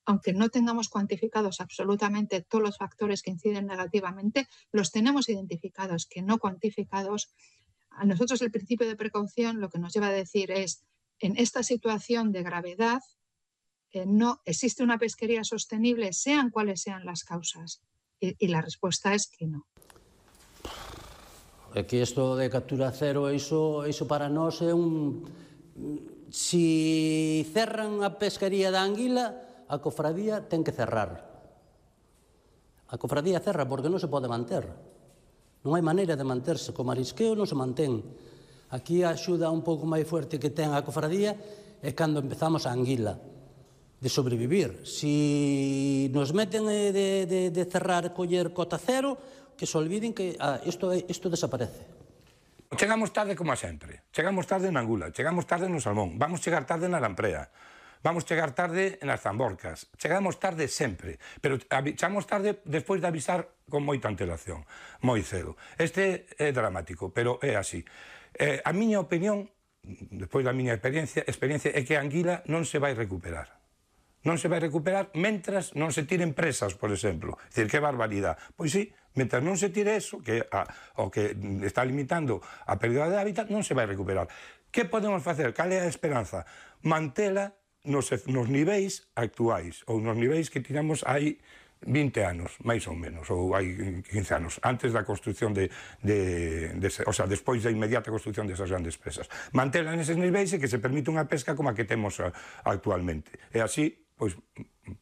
aunque no tengamos cuantificados absolutamente todos los factores que inciden negativamente, los tenemos identificados, que no cuantificados. A nosotros el principio de precaución lo que nos lleva a decir es, en esta situación de gravedad, no existe una pesquería sostenible, sean cuales sean las causas. Y la respuesta es que no. É que isto de captura cero, iso para nós é un... Si cerran a pesquería da anguila, a cofradía ten que cerrar. A cofradía cerra porque non se pode manter. Non hai maneira de manterse. Co marisqueo non se mantén. Aquí a axuda un pouco máis fuerte que ten a cofradía é cando empezamos a anguila, de sobrevivir. Si nos meten de cerrar, coller cota cero, que se olviden que isto desaparece. Chegamos tarde como a sempre. Chegamos tarde na angula, chegamos tarde no salmón, vamos chegar tarde na lamprea, vamos chegar tarde nas zamborcas. Chegamos tarde sempre, pero chegamos tarde despois de avisar con moita antelación, moi cedo. Este é dramático, pero é así. A miña opinión, despois da miña experiencia, é que a anguila non se vai recuperar. Non se vai recuperar mentras non se tiren presas, por exemplo. É dicir, que barbaridade. Pois sí, mentras non se tire eso, que o que está limitando a pérdida de hábitat, non se vai recuperar. Que podemos facer? Cal é a esperanza? Mantela nos niveis actuais, ou nos niveis que tiramos hai 20 anos, máis ou menos, ou hai 15 anos, antes da construcción o sea, despois da inmediata construcción desas grandes presas. Mantela neses niveis e que se permite unha pesca como a que temos actualmente. E así, pois,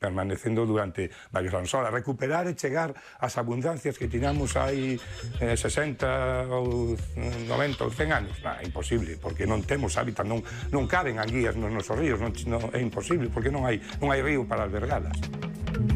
permanecendo durante varios anos. Ahora, recuperar e chegar ás abundancias que tiramos hai 60 ou 90 ou 100 anos, é imposible, porque non temos hábitat, non caben anguías nos nosos ríos, é imposible, porque non hai río para albergalas.